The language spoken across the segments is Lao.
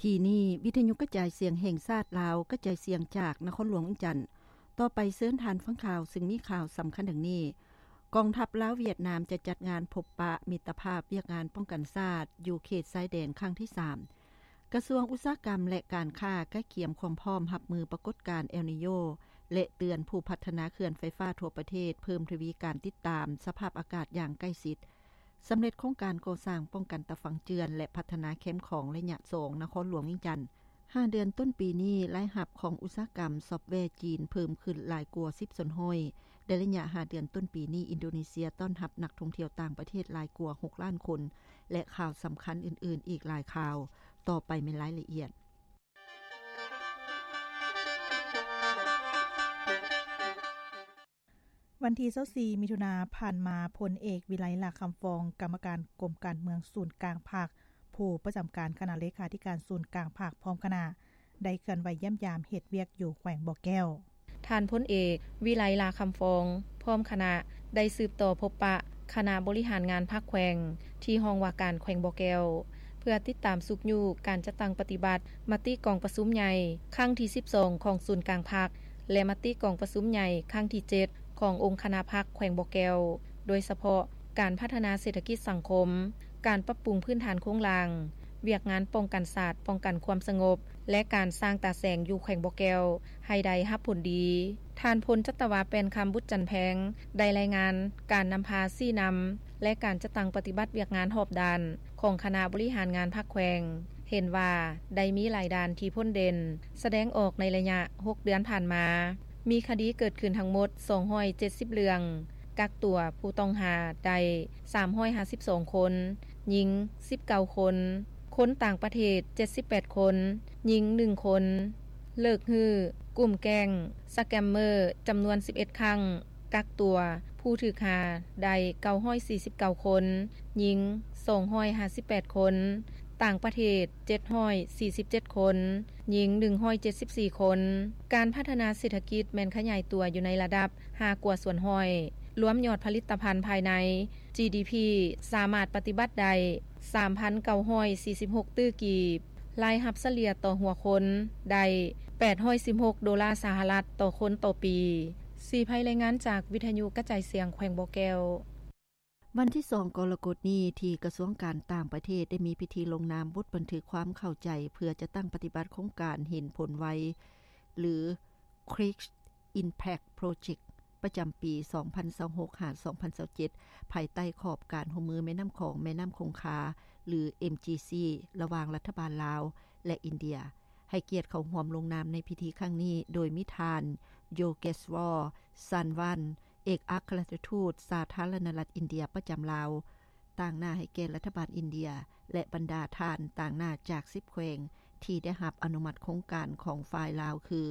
ທີ່ນີ້ ວິທະຍຸກະຈາຍສຽງແຫ່ງຊາດລາວ ກະຈາຍສຽງຈາກນະຄອນຫຼວງວຽງຈັນ. ຕໍ່ໄປເຊີນທ່ານຟັງຂ່າວ ຊຶ່ງມີຂ່າວສຳຄັນດັ່ງນີ້: ກອງທັບລາວຫວຽດນາມຈະຈັດງານພົບປະມິດຕະພາບວຽກງານປ້ອງກັນຊາດ ຢູ່ເຂດຊາຍແດນຄັ້ງທີສາມ. ກະຊວງອຸດສາຫະກຳ ແລະ ການຄ້າກະກຽມຄວາມພ້ອມຮັບມືປາກົດການແອລນີໂຍ ແລະ ເຕືອນຜູ້ພັດທະນາເຂື່ອນໄຟຟ້າທົ່ວປະເທດ ເພີ່ມທະວີການຕິດຕາມສະພາບອາກາດຢ່າງໃກ້ຊິດ. ສຳເລັດໂຄງການກໍ່ສ້າງປ້ອງກັນຕາຝັ່ງເຈື່ອນ ແລະ ພັດທະນາແຄມຂອງໄລຍະສອງ ນະຄອນຫຼວງວຽງຈັນ. ຫ້າເດືອນຕົ້ນປີນີ້, ລາຍຮັບຂອງອຸດສາຫະກຳຊອບແວຈີນເພີ່ມຂຶ້ນຫຼາຍກວ່າສິບສ່ວນຮ້ອຍ. ໃນໄລຍະຫ້າເດືອນຕົ້ນປີນີ້, ອິນໂດເນເຊຍຕ້ອນຮັບນັກທ່ອງທ່ຽວຕ່າງປະເທດຫຼາຍກວ່າຫົກລ້ານຄົນ ແລະ ຂ່າວສຳຄັນອື່ນໆອີກຫຼາຍຂ່າວ. ຕໍ່ໄປແມ່ນລາຍລະອຽດ. ວັນທີຊາວສີ່ ມິຖຸນາຜ່ານມາ, ພົນເອກ ວິໄລ ຫຼ້າຄຳຟອງ, ກຳມະການກົມການເມືອງສູນກາງພັກ, ຜູ້ປະຈຳການຄະນະເລຂາທິການສູນກາງພັກ ພ້ອມຄະນະ ໄດ້ເຄື່ອນໄຫວຢ້ຽມຢາມເຮັດວຽກຢູ່ແຂວງບໍ່ແກ້ວ. ທ່ານພົນເອກ ວິໄລ ຫຼ້າຄຳຟອງ ພ້ອມຄະນະ ໄດ້ສືບຕໍ່ພົບປະຄະນະບໍລິຫານງານພັກແຂວງ ທີ່ຫ້ອງວ່າການແຂວງບໍ່ແກ້ວ ເພື່ອຕິດຕາມຊຸກຍູ້ການຈັດຕັ້ງປະຕິບັດມະຕິກອງປະຊຸມໃຫຍ່ຄັ້ງທີສິບສອງຂອງສູນກາງພັກ ແລະ ມະຕິກອງປະຊຸມໃຫຍ່ຄັ້ງທີເຈັດຂອງອົງຄະນະພັກແຂວງບໍ່ແກ້ວ, ໂດຍສະເພາະການພັດທະນາເສດຖະກິດສັງຄົມ, ການປັບປຸງພື້ນຖານໂຄງລ່າງ, ວຽກງານປ້ອງກັນຊາດ, ປ້ອງກັນຄວາມສະຫງົບ ແລະ ການສ້າງຕາແສງຢູ່ແຂວງບໍ່ແກ້ວໃຫ້ໄດ້ຮັບຜົນດີ. ທ່ານພົນຈັດຕະວາ ແປ້ນຄຳ ບຸດຈັນແພງ ໄດ້ລາຍງານການນຳພາຊີ້ນຳ ແລະ ການຈັດຕັ້ງປະຕິບັດວຽກງານຮອບດ້ານຂອງຄະນະບໍລິຫານງານພັກແຂວງ ເຫັນວ່າໄດ້ມີຫຼາຍດ້ານທີ່ພົ້ນເດັ່ນ ສະແດງອອກໃນໄລຍະຫົກເດືອນຜ່ານມາ. ມີຄະດີເກີດຂຶ້ນທັງໝົດສອງຮ້ອຍເຈັດສິບເລື່ອງ, ກັກຕົວຜູ້ຕ້ອງຫາໄດ້ສາມຮ້ອຍຫ້າສິບສອງຄົນ, ຍິງສິບເກົ້າຄົນ, ຄົນຕ່າງປະເທດເຈັດສິບແປດຄົນ, ຍິງໜຶ່ງຄົນ, ເລີກຮື້ກຸ່ມແກ້ງສະແກມເມີຈຳນວນສິບເອັດຄັ້ງ, ກັກຕົວຜູ້ຖືກຫາໄດ້ເກົ້າຮ້ອຍສີ່ສິບເກົ້າຄົນ, ຍິງສອງຮ້ອຍຫ້າສິບແປດຄົນ, ຕ່າງປະເທດເຈັດຮ້ອຍສີ່ສິບເຈັດຄົນ, ຍິງໜຶ່ງຮ້ອຍເຈັດສິບສີ່ຄົນ. ການພັດທະນາເສດຖະກິດແມ່ນຂະຫຍາຍຕົວຢູ່ໃນລະດັບຫ້າກວ່າສ່ວນຮ້ອຍ, ລວມຍອດຜະລິດຕະພັນພາຍໃນ ຈີດີພີ ສາມາດປະຕິບັດໄດ້ສາມພັນເກົ້າຮ້ອຍສີ່ສິບຫົກຕື້ກີບ, ລາຍຮັບສະເລ່ຍຕໍ່ຫົວຄົນໄດ້ແປດຮ້ອຍສິບຫົກໂດລາສະຫະລັດຕໍ່ຄົນຕໍ່ປີ. ສີໄພ ລາຍງານຈາກວິທະຍຸກະຈາຍສຽງແຂວງບໍ່ແກ້ວ. ວັນທີສອງ ກໍລະກົດນີ້ ທີ່ກະຊວງການຕ່າງປະເທດໄດ້ມີພິທີລົງນາມບົດບັນທຶກຄວາມເຂົ້າໃຈ ເພື່ອຈັດຕັ້ງປະຕິບັດໂຄງການເຫັນຜົນໄວ ຫຼື Quick Impact Project ປະຈຳປີສອງພັນຊາວຫົກ ຫາ ສອງພັນຊາວເຈັດ ພາຍໃຕ້ຂອບການຮ່ວມມືແມ່ນ້ຳຂອງ ແມ່ນ້ຳຄົງຄາ ຫຼື ເອັມຈີຊີ ລະຫວ່າງລັດຖະບານລາວ ແລະ ອິນເດຍ. ໃຫ້ກຽດເຂົ້າຮ່ວມລົງນາມໃນພິທີຄັ້ງນີ້ ໂດຍມີທ່ານ ໂຢເກສວໍ ຊານວັນ ເອກອັກຄະລັດຖະທູດສາທາລະນະລັດອິນເດຍປະຈຳລາວ, ຕາງໜ້າໃຫ້ແກ່ລັດຖະບານອິນເດຍ ແລະ ບັນດາທ່ານຕາງໜ້າຈາກສິບແຂວງ ທີ່ໄດ້ຮັບອະນຸມັດໂຄງການຂອງຝ່າຍລາວ ຄື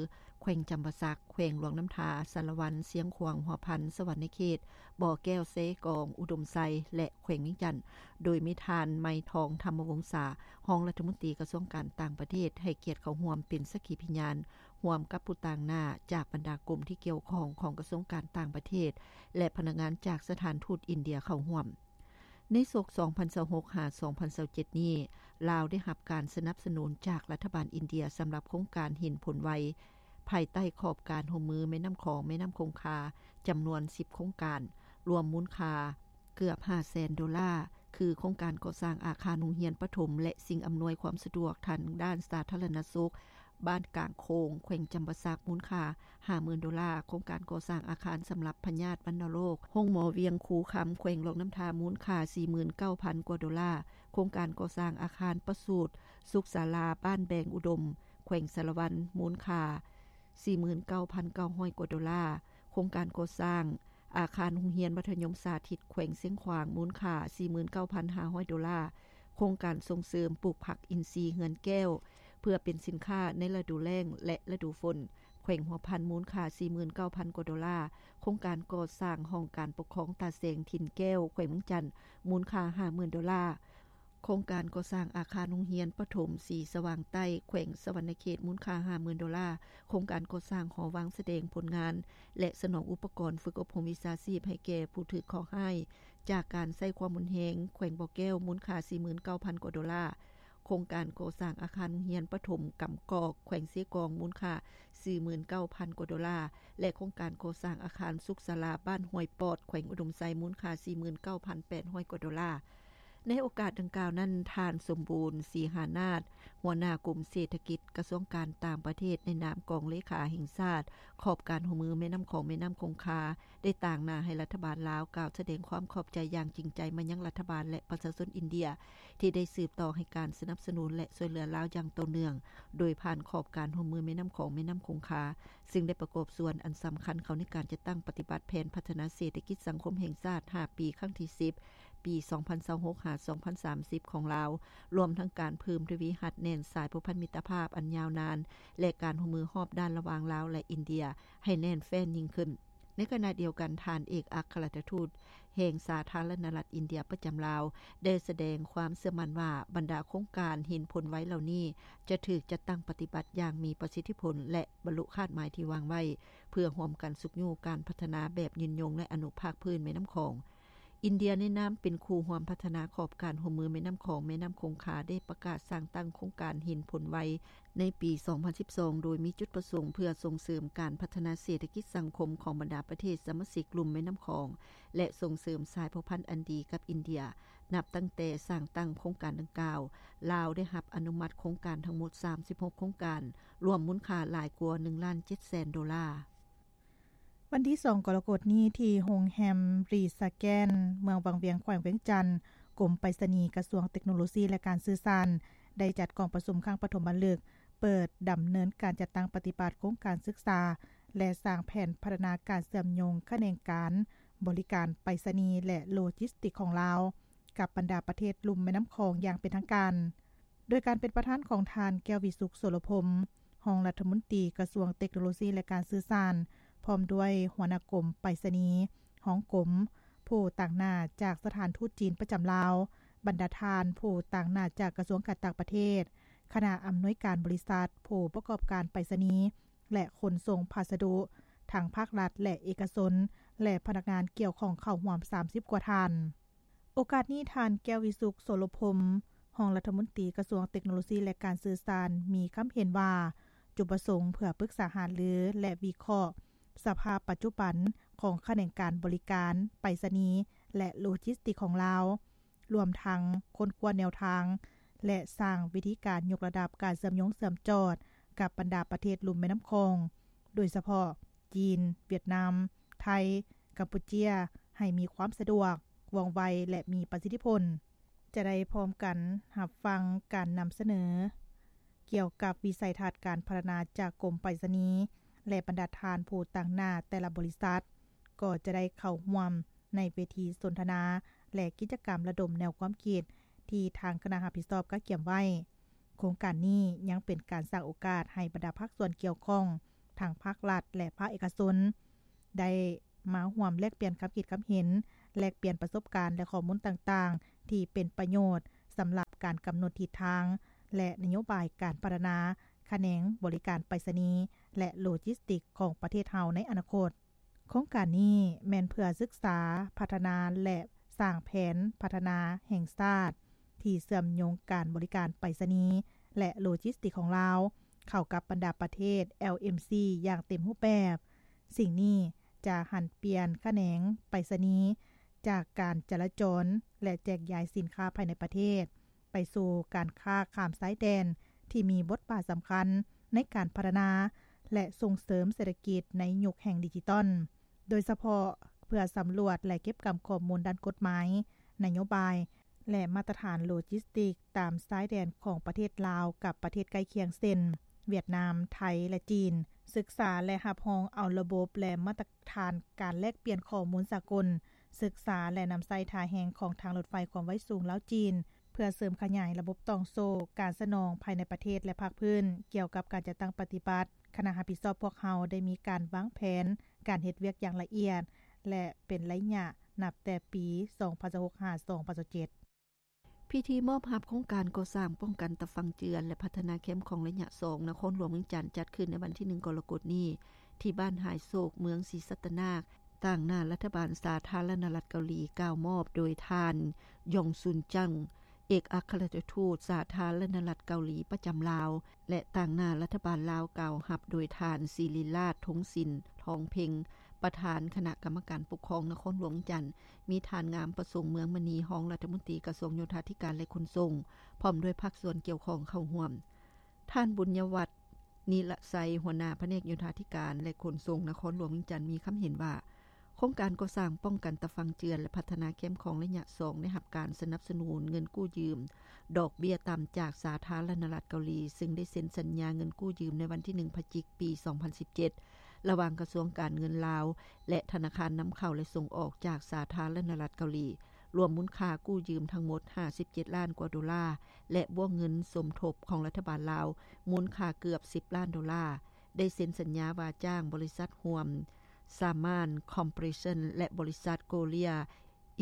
ແຂວງຈຳປາສັກ, ແຂວງຫຼວງນ້ຳທາ, ສາລະວັນ, ຊຽງຂວາງ, ຫົວພັນ, ສະຫວັນນະເຂດ, ບໍ່ແກ້ວ, ເຊກອງ, ອຸດົມໄຊ ແລະ ແຂວງວຽງຈັນ, ໂດຍມີທ່ານ ໄມທອງ ທຳມະວົງສາ ຮອງລັດຖະມົນຕີກະຊວງການຕ່າງປະເທດ ໃຫ້ກຽດເຂົ້າຮ່ວມເປັນສັກຂີພະຍານ ຮ່ວມກັບຜູ້ຕາງໜ້າຈາກບັນດາກົມທີ່ກ່ຽວຂ້ອງຂອງກະຊວງການຕ່າງປະເທດ ແລະ ພະນັກງານຈາກສະຖານທູດອິນເດຍເຂົ້າຮ່ວມ. ໃນສົກສອງພັນຊາວຫົກ ຫາ ສອງພັນຊາວເຈັດນີ້, ລາວໄດ້ຮັບການສະໜັບສະໜູນຈາກລັດຖະບານອິນເດຍສຳລັບໂຄງການເຫັນຜົນໄວ ພາຍໃຕ້ຂອບການຮ່ວມມືແມ່ນ້ຳຂອງ ແມ່ນ້ຳຄົງຄາ ຈຳນວນສິບໂຄງການ, ລວມມູນຄ່າເກືອບຫ້າແສນໂດລາ, ຄືໂຄງການກໍ່ສ້າງອາຄານໂຮງຮຽນປະຖົມ ແລະ ສິ່ງອຳນວຍຄວາມສະດວກທາງດ້ານສາທາລະນະສຸກ ບ້ານກາງໂຄງ ແຂວງຈຳປາສັກ ມູນຄ່າຫ້າໝື່ນໂດລາ, ໂຄງການກໍ່ສ້າງອາຄານສຳລັບພະຍາດວັນນະໂລກ ໂຮງໝໍວຽງຄູຄຳ ແຂວງຫຼວງນ້ຳທາ ມູນຄ່າສີ່ໝື່ນເກົ້າພັນກວ່າໂດລາ, ໂຄງການກໍ່ສ້າງອາຄານປະສູດສຸກສາລາ ບ້ານແບງອຸດົມ ແຂວງສາລະວັນ ມູນຄ່າສີ່ໝື່ນເກົ້າພັນເກົ້າຮ້ອຍກວ່າໂດລາ, ໂຄງການກໍ່ສ້າງ ອາຄານໂຮງຮຽນມັດທະຍົມສາທິດແຂວງຊຽງຂວາງ ມູນຄ່າສີ່ໝື່ນເກົ້າພັນຫ້າຮ້ອຍໂດລາ, ໂຄງການສົ່ງເສີມປູກຜັກອິນຊີເຮືອນແກ້ວ ເພື່ອເປັນສິນຄ້າໃນລະດູແລ້ງ ແລະ ລະດູຝົນ ແຂວງຫົວພັນ ມູນຄ່າສີ່ໝື່ນເກົ້າພັນກວ່າໂດລາ, ໂຄງການກໍ່ສ້າງຫ້ອງການປົກຄອງຕາແສງຖິ່ນແກ້ວ ແຂວງວຽງຈັນ ມູນຄ່າຫ້າໝື່ນໂດລາ, ໂຄງການກໍ່ສ້າງອາຄານໂຮງຮຽນປະຖົມສີສະຫວ່າງໃຕ້ ແຂວງສະຫວັນນະເຂດ ມູນຄ່າຫ້າໝື່ນໂດລາ, ໂຄງການກໍ່ສ້າງຫໍວາງສະແດງຜົນງານ ແລະ ສະໜອງອຸປະກອນຝຶກອົບຮົມວິຊາຊີບໃຫ້ແກ່ຜູ້ຖືກເຄາະຮ້າຍຈາກການໃຊ້ຄວາມຮຸນແຮງ ແຂວງບໍ່ແກ້ວ ມູນຄ່າສີ່ໝື່ນເກົ້າພັນກວ່າໂດລາ, ໂຄງການກໍ່ສ້າງອາຄານໂຮງຮຽນປະຖົມກຳກອກ ແຂວງເຊກອງ ມູນຄ່າ ສີ່ໝື່ນເກົ້າພັນກວ່າໂດລາ ແລະ ໂຄງການກໍ່ສ້າງອາຄານສຸກສາລາ ບ້ານຫ້ວຍປອດ ແຂວງອຸດົມໄຊ ມູນຄ່າ ສີ່ໝື່ນເກົ້າພັນແປດຮ້ອຍກວ່າໂດລາ. ໃນໂອກາດດັ່ງກ່າວນັ້ນ, ທ່ານ ສົມບູນ ສີຫານາດ ຫົວໜ້າກົມເສດຖະກິດ ກະຊວງການຕ່າງປະເທດ ໃນນາມກອງເລຂາແຫ່ງຊາດ ຂອບການຮ່ວມມືແມ່ນ້ຳຂອງ ແມ່ນ້ຳຄົງຄາ ໄດ້ຕາງໜ້າໃຫ້ລັດຖະບານລາວ ກ່າວສະແດງຄວາມຂອບໃຈຢ່າງຈິງໃຈມາຍັງລັດຖະບານ ແລະ ປະຊາຊົນອິນເດຍ ທີ່ໄດ້ສືບຕໍ່ໃຫ້ການສະໜັບສະໜູນ ແລະ ຊ່ວຍເຫຼືອລາວຢ່າງຕໍ່ເນື່ອງ ໂດຍຜ່ານຂອບການຮ່ວມມືແມ່ນ້ຳຂອງ ແມ່ນ້ຳຄົງຄາ, ຊຶ່ງໄດ້ປະກອບສ່ວນອັນສຳຄັນເຂົ້າໃນການຈັດຕັ້ງປະຕິບັດແຜນພັດທະນາເສດຖະກິດສັງຄົມແຫ່ງຊາດ ຫ້າປີ ຄັ້ງທີສິບ ປີສອງພັນຊາວຫົກ ຫາ ສອງພັນສາມສິບ ຂອງລາວ, ລວມທັງການເພີ່ມທະວີຮັດແໜ້ນສາຍພົວພັນມິດຕະພາບອັນຍາວນານ ແລະ ການຮ່ວມມືຮອບດ້ານລະຫວ່າງລາວ ແລະ ອິນເດຍ ໃຫ້ແໜ້ນແຟ້ນຍິ່ງຂຶ້ນ. ໃນຂະນະດຽວກັນ, ທ່ານເອກອັກຄະລັດຖະທູດແຫ່ງສາທາລະນະລັດອິນເດຍປະຈຳລາວ ໄດ້ສະແດງຄວາມເຊື່ອໝັ້ນວ່າ ບັນດາໂຄງການເຫັນຜົນໄວເຫຼົ່ານີ້ ຈະຖືກຈັດຕັ້ງປະຕິບັດຢ່າງມີປະສິດທິຜົນ ແລະ ບັນລຸຄາດໝາຍທີ່ວາງໄວ້ ເພື່ອຮ່ວມກັນຊຸກຍູ້ການພັດທະນາແບບຍືນຍົງ ແລະ ອະນຸພາກພື້ນແມ່ນ້ຳຂອງ. ອິນເດຍໃນນາມເປັນຄູ່ຮ່ວມພັດທະນາຂອບການຮ່ວມມືແມ່ນ້ຳຂອງ ແມ່ນ້ຳຄົງຄາ ໄດ້ປະກາດສ້າງຕັ້ງໂຄງການເຫັນຜົນໄວໃນປີສອງພັນສິບສອງ ໂດຍມີຈຸດປະສົງເພື່ອສົ່ງເສີມການພັດທະນາເສດຖະກິດສັງຄົມຂອງບັນດາປະເທດສະມາຊິກລຸ່ມແມ່ນ້ຳຂອງ ແລະ ສົ່ງເສີມສາຍພົວພັນອັນດີກັບອິນເດຍ. ນັບຕັ້ງແຕ່ສ້າງຕັ້ງໂຄງການດັ່ງກ່າວ, ລາວໄດ້ຮັບອະນຸມັດໂຄງການທັງໝົດສາມສິບຫົກໂຄງການ, ລວມມູນຄ່າຫຼາຍກວ່າໜຶ່ງລ້ານເຈັດແສນໂດລາ. ວັນທີສອງ ກໍລະກົດນີ້ ທີ່ໂຮງແຮມຣີສະແກນ ເມືອງວັງວຽງ ແຂວງວຽງຈັນ, ກົມໄປສະນີ ກະຊວງເຕັກໂນໂລຊີ ແລະ ການສື່ສານ ໄດ້ຈັດກອງປະຊຸມຄັ້ງປະຖົມມະລຶກ ເປີດດຳເນີນການຈັດຕັ້ງປະຕິບັດໂຄງການສຶກສາ ແລະ ສ້າງແຜນພັດທະນາການເຊື່ອມໂຍງຂະແໜງການບໍລິການໄປສະນີ ແລະ ໂລຈິສຕິກຂອງລາວ ກັບບັນດາປະເທດລຸ່ມແມ່ນ້ຳຂອງຢ່າງເປັນທາງການ. ໂດຍການເປັນປະທານຂອງທ່ານ ແກ້ວວິສຸກ ໂສລະພົມ ຮອງລັດຖະມົນຕີກະຊວງເຕັກໂນໂລຊີ ແລະ ການສື່ສານ, ພ້ອມດ້ວຍຫົວໜ້າກົມໄປສະນີ, ຮອງກົມ, ຜູ້ຕາງໜ້າຈາກສະຖານທູດຈີນປະຈຳລາວ, ບັນດາທ່ານຜູ້ຕາງໜ້າຈາກກະຊວງການຕ່າງປະເທດ, ຄະນະອຳນວຍການບໍລິສັດ, ຜູ້ປະກອບການໄປສະນີ ແລະ ຂົນສົ່ງພັດສະດຸ ທັງພາກລັດ ແລະ ເອກະຊົນ ແລະ ພະນັກງານກ່ຽວຂ້ອງເຂົ້າຮ່ວມສາມສິບກວ່າທ່ານ. ໂອກາດນີ້ ທ່ານ ແກ້ວວິສຸກ ໂສລະພົມ ຮອງລັດຖະມົນຕີກະຊວງເຕັກໂນໂລຊີ ແລະ ການສື່ສານ ມີຄຳເຫັນວ່າ ຈຸດປະສົງເພື່ອປຶກສາຫາລື ແລະ ວິເຄາະສະພາບປັດຈຸບັນຂອງຂະແໜງການບໍລິການໄປສະນີ ແລະ ໂລຈິສຕິກຂອງລາວ, ລວມທັງຄົ້ນຄວ້າແນວທາງ ແລະ ສ້າງວິທີການຍົກລະດັບການເຊື່ອມໂຍງເຊື່ອມຈອດກັບບັນດາປະເທດລຸ່ມແມ່ນ້ຳຂອງ, ໂດຍສະເພາະ ຈີນ, ຫວຽດນາມ, ໄທ, ກຳປູເຈຍ ໃຫ້ມີຄວາມສະດວກ, ວ່ອງໄວ ແລະ ມີປະສິດທິຜົນ. ຈະໄດ້ພ້ອມກັນຮັບຟັງການນຳສະເໜີກ່ຽວກັບວິໄສທັດການພັດທະນາຈາກກົມໄປສະນີ ແລະ ບັນດາທ່ານຜູ້ຕາງໜ້າແຕ່ລະບໍລິສັດ ກໍຈະໄດ້ເຂົ້າຮ່ວມໃນເວທີສົນທະນາ ແລະ ກິດຈະກຳລະດົມແນວຄວາມຄິດທີ່ທາງຄະນະຮັບຜິດຊອບກະກຽມໄວ້. ໂຄງການນີ້ຍັງເປັນການສ້າງໂອກາດໃຫ້ບັນດາພາກສ່ວນກ່ຽວຂ້ອງ ທັງພາກລັດ ແລະ ພາກເອກະຊົນ ໄດ້ມາຮ່ວມແລກປ່ຽນຄຳຄິດຄຳເຫັນ, ແລກປ່ຽນປະສົບການ ແລະ ຂໍ້ມູນຕ່າງໆ ທີ່ເປັນປະໂຫຍດສຳລັບການກຳນົດທິດທາງ ແລະ ນະໂຍບາຍການພັດທະນາຂະແໜງບໍລິການໄປສະນີ ແລະ ໂລຈິສຕິກຂອງປະເທດເຮົາໃນອະນາຄົດ. ໂຄງການນີ້ແມ່ນເພື່ອສຶກສາ, ພັດທະນາ ແລະ ສ້າງແຜນພັດທະນາແຫ່ງຊາດ ທີ່ເຊື່ອມໂຍງການບໍລິການໄປສະນີ ແລະ ໂລຈິສຕິກຂອງລາວ ເຂົ້າກັບບັນດາປະເທດ ແອລເອັມຊີ ຢ່າງເຕັມຮູບແບບ. ສິ່ງນີ້ຈະຫັນປ່ຽນຂະແໜງໄປສະນີ ຈາກການຈະລາຈອນ ແລະ ແຈກຢາຍສິນຄ້າພາຍໃນປະເທດ ໄປສູ່ການຄ້າຂ້າມຊາຍແດນ ທີ່ມີບົດບາດສຳຄັນໃນການພັດທະນາ ແລະ ສົ່ງເສີມເສດຖະກິດໃນຍຸກແຫ່ງດິຈິຕອນ, ໂດຍສະເພາະເພື່ອສຳຫຼວດ ແລະ ເກັບກຳຂໍ້ມູນດ້ານກົດໝາຍ, ນະໂຍບາຍ ແລະ ມາດຕະຖານໂລຈິສຕິກຕາມຊາຍແດນຂອງປະເທດລາວກັບປະເທດໃກ້ຄຽງ ເຊັ່ນ ຫວຽດນາມ, ໄທ ແລະ ຈີນ, ສຶກສາ ແລະ ຮັບຮອງເອົາລະບົບ ແລະ ມາດຕະຖານການແລກປ່ຽນຂໍ້ມູນສາກົນ, ສຶກສາ ແລະ ນຳໃຊ້ທ່າແຮງຂອງທາງລົດໄຟຄວາມໄວສູງລາວ-ຈີນ ເພື່ອເສີມຂະຫຍາຍລະບົບຕ່ອງໂສ້ການສະໜອງພາຍໃນປະເທດ ແລະ ພາກພື້ນ. ກ່ຽວກັບການຈັດຕັ້ງປະຕິບັດ, ຄະນະຮັບຜິດຊອບພວກເຮົາໄດ້ມີການວາງແຜນການເຮັດວຽກຢ່າງລະອຽດ ແລະ ເປັນໄລຍະນັບແຕ່ປີສອງພັນຊາວຫົກ ຫາ ສອງພັນຊາວເຈັດ. ພິທີມອບຮັບໂຄງການກໍ່ສ້າງປ້ອງກັນຕາຝັ່ງເຈື່ອນ ແລະ ພັດທະນາແຄມຂອງໄລຍະສອງ ນະຄອນຫຼວງວຽງຈັນ ຈັດຂຶ້ນໃນວັນທີໜຶ່ງ ກໍລະກົດນີ້ ທີ່ບ້ານຫາຍໂສກ ເມືອງສີສັດຕະນາກ, ຕາງໜ້າລັດຖະບານສາທາລະນະລັດເກົາຫຼີ ກ່າວມອບໂດຍທ່ານ ຢອງຊຸນຈັງ ເອກອັກຄະລັດຖະທູດສາທາລະນະລັດເກົາຫຼີປະຈຳລາວ ແລະ ຕາງໜ້າລັດຖະບານລາວ ກ່າວຮັບໂດຍທ່ານ ສິລິລາດ ທົງສິນ ທອງເພັງ ປະທານຄະນະກຳມະການປົກຄອງນະຄອນຫຼວງວຽງຈັນ, ມີທ່ານ ງາມປະສົງ ເມືອງມະນີ ຮອງລັດຖະມົນຕີກະຊວງໂຍທາທິການ ແລະ ຂົນສົ່ງ ພ້ອມດ້ວຍພາກສ່ວນກ່ຽວຂ້ອງເຂົ້າຮ່ວມ. ທ່ານ ບຸນຍະວັດ ນິລະໄຊ ຫົວໜ້າພະແນກໂຍທາທິການ ແລະ ຂົນສົ່ງນະຄອນຫຼວງວຽງຈັນ ມີຄຳເຫັນວ່າ ໂຄງການກໍ່ສ້າງປ້ອງກັນຕາຝັ່ງເຈື່ອນ ແລະ ພັດທະນາແຄມຂອງໄລຍະສອງ ໄດ້ຮັບການສະໜັບສະໜູນເງິນກູ້ຢືມ ດອກເບ້ຍຕ່ຳຈາກສາທາລະນະລັດເກົາຫຼີ, ຊຶ່ງໄດ້ເຊັນສັນຍາເງິນກູ້ຢືມໃນວັນທີໜຶ່ງ ພະຈິກ ປີສອງພັນສິບເຈັດ ລະຫວ່າງກະຊວງການເງິນລາວ ແລະ ທະນາຄານນຳເຂົ້າ ແລະ ສົ່ງອອກຈາກສາທາລະນະລັດເກົາຫຼີ, ລວມມູນຄ່າກູ້ຢືມທັງໝົດ ຫ້າສິບເຈັດລ້ານກວ່າໂດລາ ແລະ ບ້ວງເງິນສົມທົບຂອງລັດຖະບານລາວ ມູນຄ່າເກືອບ ສິບລ້ານໂດລາ, ໄດ້ເຊັນສັນຍາວ່າຈ້າງບໍລິສັດຮ່ວມ Saman Corporation ແລະ ບໍລິສັດ Korea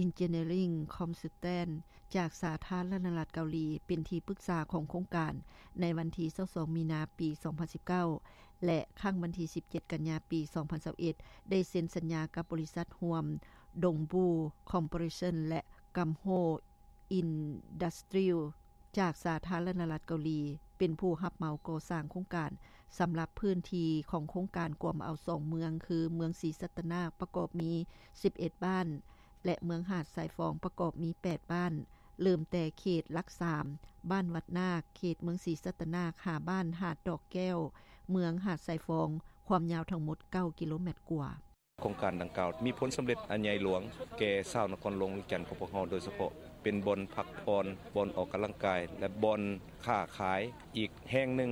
Engineering Consultant ຈາກສາທາລະນະລັດເກົາຫຼີ ເປັນທີ່ປຶກສາຂອງໂຄງການ ໃນວັນທີຊາວສອງ ມີນາ ປີສອງພັນສິບເກົ້າ ແລະ ຄັ້ງວັນທີສິບເຈັດ ກັນຍາ ປີສອງພັນຊາວເອັດ ໄດ້ເຊັນສັນຍາກັບບໍລິສັດຮ່ວມ Dongbu Corporation ແລະ Gamho Industrial ຈາກສາທາລະນະລັດເກົາຫຼີ ເປັນຜູ້ຮັບເໝົາກໍ່ສ້າງໂຄງການ ສຳລັບພື້ນທີ່ຂອງໂຄງການກວມເອົາສອງເມືອງ ຄື ເມືອງສີສັດຕະນາກ ປະກອບມີສິບເອັດບ້ານ ແລະ ເມືອງຫາດຊາຍຟອງ ປະກອບມີແປດບ້ານ, ເລີ່ມແຕ່ເຂດຫຼັກສາມ ບ້ານວັດນາກ ເຂດເມືອງສີສັດຕະນາກ ຫາບ້ານຫາດດອກແກ້ວ ເມືອງຫາດຊາຍຟອງ, ຄວາມຍາວທັງໝົດເກົ້າກິໂລແມັດກວ່າ. ໂຄງການດັ່ງກ່າວມີຜົນສຳເລັດອັນໃຫຍ່ຫຼວງແກ່ຊາວນະຄອນຫຼວງວຽງຈັນຂອງພວກເຮົາໂດຍສະເພາະ, ເປັນບ່ອນພັກຜ່ອນ, ບ່ອນອອກກຳລັງກາຍ ແລະ ບ່ອນຄ້າຂາຍອີກແຫ່ງໜຶ່ງ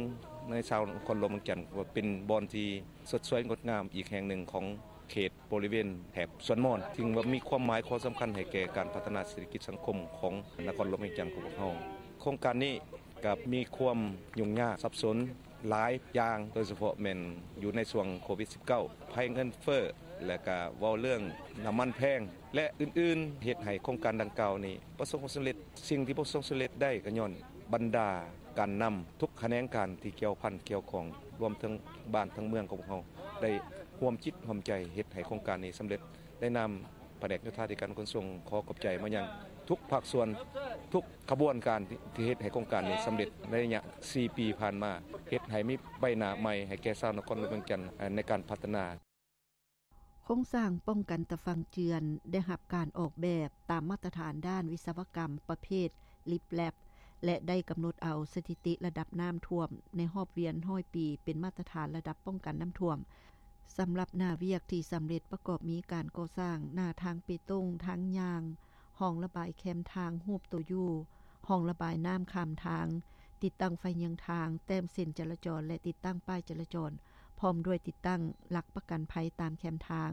ໃນຊາວນະຄອນຫຼວງວຽງຈັນ, ວ່າເປັນບ່ອນທີ່ສົດສວຍງົດງາມອີກແຫ່ງໜຶ່ງຂອງເຂດບໍລິເວນແຖບສວນມອນ, ຊຶ່ງວ່າມີຄວາມໝາຍຄວາມສຳຄັນໃຫ້ແກ່ການພັດທະນາເສດຖະກິດສັງຄົມຂອງນະຄອນຫຼວງວຽງຈັນຂອງພວກເຮົາ. ໂຄງການນີ້ ກັບມີຄວາມຫຍຸ້ງຍາກສັບສົນຫຼາຍຢ່າງ, ໂດຍສະເພາະແມ່ນຢູ່ໃນຊ່ວງໂຄວິດສິບເກົ້າ ໄພເງິນເຟີ້ ແລະ ກະເວົ້າເລື່ອງນ້ຳມັນແພງ ແລະ ອື່ນໆ, ເຮັດໃຫ້ໂຄງການດັ່ງກ່າວນີ້ປະສົບຜົນສຳເລັດ. ສິ່ງທີ່ປະສົບຜົນສຳເລັດໄດ້ກໍຍ້ອນບັນດາການນຳທຸກຂະແໜງການທີ່ກ່ຽວພັນກ່ຽວຂ້ອງ, ລວມເຖິງບ້ານທັງເມືອງຂອງພວກເຮົາ ໄດ້ຮ່ວມຈິດຮ່ວມໃຈເຮັດໃຫ້ໂຄງການນີ້ສຳເລັດ. ໃນນາມພະແນກໂຍທາທິການຂົນສົ່ງ ຂໍຂອບໃຈມາຍັງທຸກພາກສ່ວນ, ທຸກຂະບວນການທີ່ ທີ່ເຮັດໃຫ້ໂຄງການນີ້ສຳເລັດໃນໄລຍະສີ່ປີຜ່ານມາ, ເຮັດໃຫ້ມີໃບໜ້າໃໝ່ໃຫ້ແກ່ຊາວນະຄອນຫຼວງວຽງຈັນໃນການພັດທະນາ. ໂຄງສ້າງປ້ອງກັນຕາຝັ່ງເຈື່ອນ ໄດ້ຮັບການອອກແບບຕາມມາດຕະຖານດ້ານວິສະວະກຳປະເພດ ລິບແລັບ ແລະ ໄດ້ກຳນົດເອົາສະຖິຕິລະດັບນ້ຳຖ້ວມໃນຮອບວຽນຮ້ອຍປີ ເປັນມາດຕະຖານລະດັບປ້ອງກັນນ້ຳຖ້ວມ. ສຳລັບໜ້າວຽກທີ່ສຳເລັດປະກອບມີການກໍ່ສ້າງໜ້າທາງເປຕົງ, ທາງຍ່າງ, ຮ່ອງລະບາຍແຄມທາງຮູບໂຕຢູ, ຮ່ອງລະບາຍນ້ຳຂ້າມທາງ, ຕິດຕັ້ງໄຟເຍືອງທາງ, ແຕ້ມເສັ້ນຈະລາຈອນ ແລະ ຕິດຕັ້ງປ້າຍຈະລາຈອນ, ພ້ອມດ້ວຍຕິດຕັ້ງຫຼັກປະກັນໄພຕາມແຄມທາງ.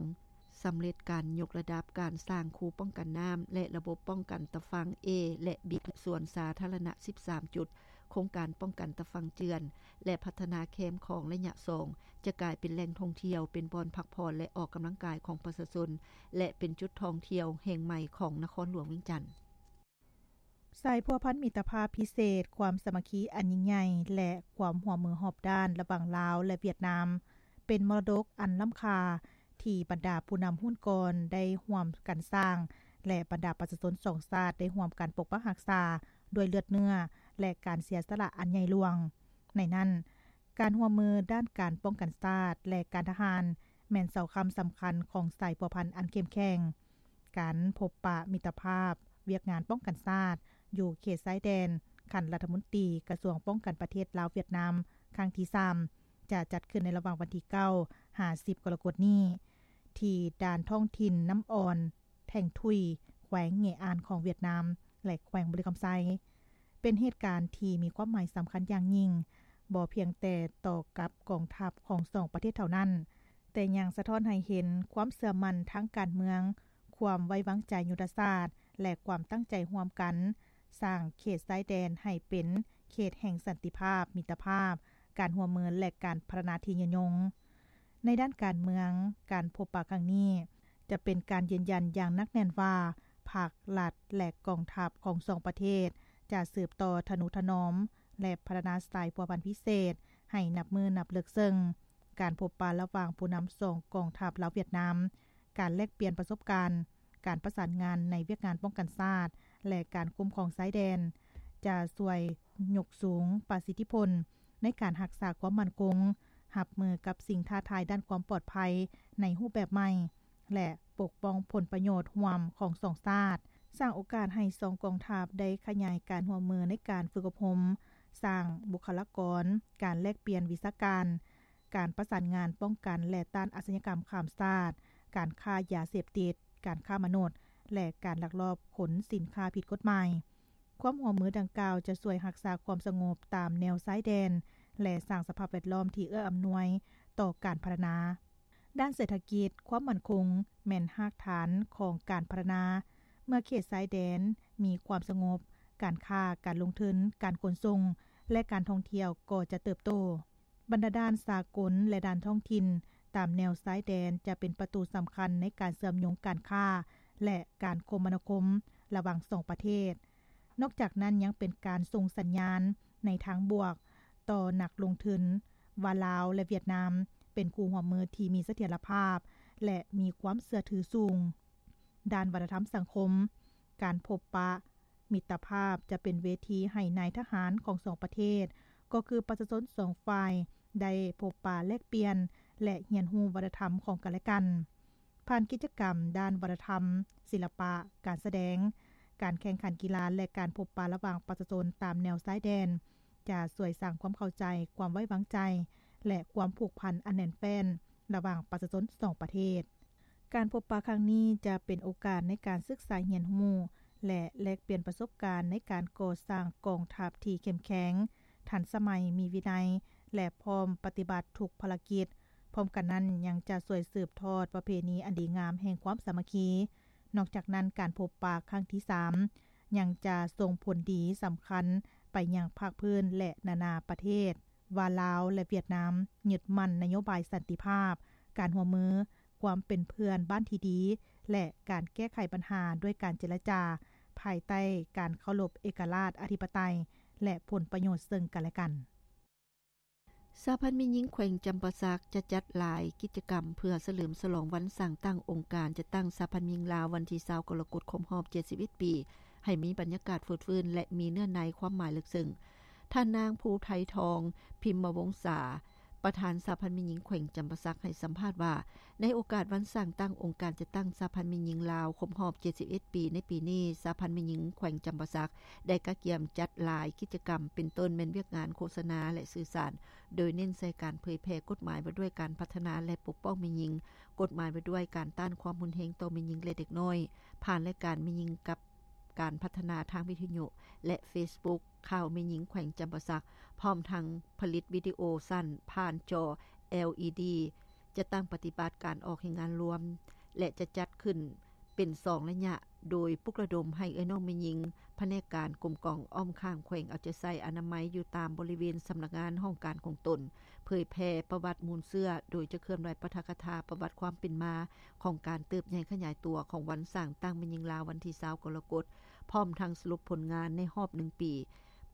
ສຳເລັດການຍົກລະດັບການສ້າງຄູປ້ອງກັນນ້ຳ ແລະ ລະບົບປ້ອງກັນຕາຝັ່ງ A ແລະ B ສວນສາທາລະນະສິບສາມຈຸດ, ໂຄງການປ້ອງກັນຕາຝັ່ງເຈື່ອນ ແລະ ພັດທະນາແຄມຂອງໄລຍະສອງ ຈະກາຍເປັນແຫຼ່ງທ່ອງທ່ຽວ, ເປັນບ່ອນພັກຜ່ອນ ແລະ ອອກກຳລັງກາຍຂອງປະຊາຊົນ ແລະ ເປັນຈຸດທ່ອງທ່ຽວແຫ່ງໃໝ່ຂອງນະຄອນຫຼວງວຽງຈັນ. ສາຍພົວພັນມິດຕະພາບພິເສດ, ຄວາມສາມັກຄີອັນຍິ່ງໃຫຍ່ ແລະ ຄວາມຮ່ວມມືຮອບດ້ານລະຫວ່າງລາວ ແລະ ຫວຽດນາມ ເປັນມໍລະດົກອັນລ້ຳຄ່າ ທີ່ບັນດາຜູ້ນຳຮຸ່ນກ່ອນໄດ້ຮ່ວມກັນສ້າງ ແລະ ບັນດາປະຊາຊົນສອງຊາດໄດ້ຮ່ວມກັນປົກປັກຮັກສາດ້ວຍເລືອດເນື້ອ ແລະ ການເສຍສະຫຼະອັນໃຫຍ່ຫຼວງ. ໃນນັ້ນ, ການຮ່ວມມືດ້ານການປ້ອງກັນຊາດ ແລະ ການທະຫານ ແມ່ນເສົາຄ້ຳສຳຄັນຂອງສາຍພົວພັນອັນເຂັ້ມແຂງ. ການພົບປະມິດຕະພາບວຽກງານປ້ອງກັນຊາດ ຢູ່ເຂດຊາຍແດນ ຂັ້ນລັດຖະມົນຕີ ກະຊວງປ້ອງກັນປະເທດລາວ-ຫວຽດນາມ ຄັ້ງທີສາມ ຈະຈັດຂຶ້ນໃນລະຫວ່າງວັນທີເກົ້າ ຫາ ສິບ ກໍລະກົດນີ້ ທີ່ດ່ານທ້ອງຖິ່ນນ້ຳອ່ອນ ແທ່ງທຸຍ ແຂວງເງອານຂອງຫວຽດນາມ ແລະ ແຂວງບໍລິຄຳໄຊ. ເປັນເຫດການທີ່ມີຄວາມໝາຍສຳຄັນຢ່າງຍິ່ງ, ບໍ່ພຽງແຕ່ຕໍ່ກັບກອງທັບຂອງສອງປະເທດເທົ່ານັ້ນ, ແຕ່ຍັງສະທ້ອນໃຫ້ເຫັນຄວາມເຊື່ອໝັ້ນທາງການເມືອງ, ຄວາມໄວ້ວາງໃຈຍຸດທະສາດ ແລະ ຄວາມຕັ້ງໃຈຮ່ວມກັນ ສ້າງເຂດຊາຍແດນໃຫ້ເປັນເຂດແຫ່ງສັນຕິພາບ, ມິດຕະພາບ, ການຮ່ວມມື ແລະ ການພັດທະນາທີ່ຍືນຍົງ. ໃນດ້ານການເມືອງ, ການພົບປະຄັ້ງນີ້ຈະເປັນການຢືນຢັນຢ່າງໜັກແໜ້ນວ່າ ພັກ, ລັດ ແລະ ກອງທັບຂອງສອງປະເທດ ຈະສືບຕໍ່ທະນຸຖະໜອມ ແລະ ພັດທະນາສາຍພົວພັນພິເສດໃຫ້ນັບມື້ນັບເລິກເຊິ່ງ. ການພົບປະລະຫວ່າງຜູ້ນຳສອງກອງທັບລາວ-ຫວຽດນາມ, ການແລກປ່ຽນປະສົບການ, ການປະສານງານໃນວຽກງານປ້ອງກັນຊາດ ແລະ ການຄຸ້ມຄອງຊາຍແດນ, ຈະຊ່ວຍຍົກສູງປະສິດທິຜົນໃນການຮັກສາຄວາມໝັ້ນຄົງ, ຮັບມືກັບສິ່ງທ້າທາຍດ້ານຄວາມປອດໄພໃນຮູບແບບໃໝ່ ແລະ ປົກປ້ອງຜົນປະໂຫຍດຮ່ວມຂອງສອງຊາດ, ສ້າງໂອກາດໃຫ້ສອງກອງທັບໄດ້ຂະຫຍາຍການຮ່ວມມືໃນການຝຶກອົບຮົມ, ສ້າງບຸກຄະລາກອນ, ການແລກປ່ຽນວິຊາການ, ການປະສານງານປ້ອງກັນ ແລະ ຕ້ານອາຊະຍາກຳຂ້າມຊາດ, ການຄ້າຢາເສບຕິດ, ການຄ້າມະນຸດ ແລະ ການລັກລອບຂົນສິນຄ້າຜິດກົດໝາຍ. ຄວາມຮ່ວມມືດັ່ງກ່າວຈະຊ່ວຍຮັກສາຄວາມສະຫງົບຕາມແນວຊາຍແດນ ແລະ ສ້າງສະພາບແວດລ້ອມທີ່ເອື້ອອຳນວຍຕໍ່ການພັດທະນາ. ດ້ານເສດຖະກິດ, ຄວາມໝັ້ນຄົງແມ່ນຮາກຖານຂອງການພັດທະນາ. ເມື່ອເຂດຊາຍແດນມີຄວາມສະຫງົບ, ການຄ້າ, ການລົງທຶນ, ການຂົນສົ່ງ ແລະ ການທ່ອງທ່ຽວກໍຈະເຕີບໂຕ. ບັນດາດ້ານສາກົນ ແລະ ດ້ານທ້ອງຖິ່ນຕາມແນວຊາຍແດນຈະເປັນປະຕູສຳຄັນໃນການເຊື່ອມໂຍງການຄ້າ ແລະ ການຄົມມະນາຄົມລະຫວ່າງສອງປະເທດ. ນອກຈາກນັ້ນຍັງເປັນການສົ່ງສັນຍານໃນທາງບວກຕໍ່ນັກລົງທຶນວ່າລາວ ແລະ ຫວຽດນາມເປັນຄູ່ຮ່ວມມືທີ່ມີສະຖຽນລະພາບ ແລະ ມີຄວາມເຊື່ອຖືສູງ. ດ້ານວັດທະນະທຳສັງຄົມ, ການພົບປະມິດຕະພາບຈະເປັນເວທີໃຫ້ນາຍທະຫານຂອງສອງປະເທດ, ກໍຄືປະຊາຊົນສອງຝ່າຍ ໄດ້ພົບປະແລກປ່ຽນ ແລະ ຮຽນຮູ້ວັດທະນະທຳຂອງກັນແລະກັນ. ຜ່ານກິດຈະກຳດ້ານວັດທະນະທຳ, ສິລະປະ, ການສະແດງ, ການແຂ່ງຂັນກິລາ ແລະ ການພົບປະລະຫວ່າງປະຊາຊົນຕາມແນວຊາຍແດນ ຈະຊ່ວຍສ້າງຄວາມເຂົ້າໃຈ, ຄວາມໄວ້ວາງໃຈ ແລະ ຄວາມຜູກພັນອັນແໜ້ນແຟ້ນລະຫວ່າງປະຊາຊົນສອງປະເທດ. ການພົບປະຄັ້ງນີ້ຈະເປັນໂອກາດໃນການສຶກສາຮຽນຮູ້ ແລະ ແລກປ່ຽນປະສົບການໃນການກໍ່ສ້າງກອງທັບທີ່ເຂັ້ມແຂງ, ທັນສະໄໝ, ມີວິໄນ ແລະ ພ້ອມປະຕິບັດທຸກພາລະກິດ. ພ້ອມກັນນັ້ນ, ຍັງຈະຊ່ວຍສືບທອດປະເພນີອັນດີງາມແຫ່ງຄວາມສາມັກຄີ. ນອກຈາກນັ້ນ, ການພົບປະຄັ້ງທີສາມ ຍັງຈະສົ່ງຜົນດີສຳຄັນໄປຍັງພາກພື້ນ ແລະ ນານາປະເທດ ວ່າລາວ ແລະ ຫວຽດນາມຍຶດໝັ້ນນະໂຍບາຍສັນຕິພາບ, ການຮ່ວມມື, ຄວາມເປັນເພື່ອນບ້ານທີ່ດີ ແລະ ການແກ້ໄຂບັນຫາດ້ວຍການເຈລະຈາ ພາຍໃຕ້ການເຄົາລົບເອກະລາດ, ອະທິປະໄຕ ແລະ ຜົນປະໂຫຍດເຊິ່ງກັນແລະກັນ. ສະຫະພັນແມ່ຍິງແຂວງຈຳປາສັກ ຈະຈັດຫຼາຍກິດຈະກຳເພື່ອສະເຫຼີມສະຫຼອງວັນສ້າງຕັ້ງອົງການຈັດຕັ້ງສະຫະພັນແມ່ຍິງລາວ ວັນທີຊາວ ກໍລະກົດ ຄົບຮອບເຈັດສິບເອັດປີ ໃຫ້ມີບັນຍາກາດຟົດຟື້ນ ແລະ ມີເນື້ອໃນຄວາມໝາຍເລິກເຊິ່ງ. ທ່ານນາງ ພູໄທທອງ ພິມມະວົງສາ ປະທານສະຫະພັນແມ່ຍິງແຂວງຈຳປາສັກ ໃຫ້ສຳພາດວ່າ ໃນໂອກາດວັນສ້າງຕັ້ງອົງການຈັດຕັ້ງສະຫະພັນແມ່ຍິງລາວ ຄົບຮອບເຈັດສິບເອັດປີໃນປີນີ້, ສະຫະພັນແມ່ຍິງແຂວງຈຳປາສັກ ໄດ້ກະກຽມຈັດຫຼາຍກິດຈະກຳ ເປັນຕົ້ນແມ່ນວຽກງານໂຄສະນາ ແລະ ສື່ສານ ໂດຍເນັ້ນໃສ່ການເຜີຍແຜ່ກົດໝາຍວ່າດ້ວຍການພັດທະນາ ແລະ ປົກປ້ອງແມ່ຍິງ, ກົດໝາຍວ່າດ້ວຍການຕ້ານຄວາມຮຸນແຮງຕໍ່ແມ່ຍິງ ແລະ ເດັກນ້ອຍ, ຜ່ານລາຍການແມ່ຍິງກັບການພັດທະນາທາງວິທະຍຸ ແລະ ເຟສບຸກ ຂ່າວແມ່ຍິງແຂວງຈຳປາສັກ, ພ້ອມທັງຜະລິດວິດີໂອສັ້ນຜ່ານຈໍ ແອລອີດີ ຈະຕັ້ງປະຕິບັດການອອກແຮງງານລວມ ແລະ ຈະຈັດຂຶ້ນເປັນສອງໄລຍະ, ໂດຍປຸກລະດົມໃຫ້ເອື້ອຍນ້ອງແມ່ຍິງ ພະແນກການກົມກອງອ້ອມຂ້າງແຂວງເອົາໃຈໃສ່ອະນາໄມຢູ່ຕາມບໍລິເວນສຳນັກງານຫ້ອງການຂອງຕົນ, ເຜີຍແຜ່ປະຫວັດມູນເຊື້ອ, ໂດຍຈະເຄື່ອນໄຫວປາຖະກະຖາປະຫວັດຄວາມເປັນມາຂອງການເຕີບໃຫຍ່ຂະຫຍາຍຕົວຂອງວັນສ້າງຕັ້ງແມ່ຍິງລາວ ວັນທີຊາວ ກໍລະກົດ, ພ້ອມທັງສະຫຼຸບຜົນງານໃນຮອບໜຶ່ງປີ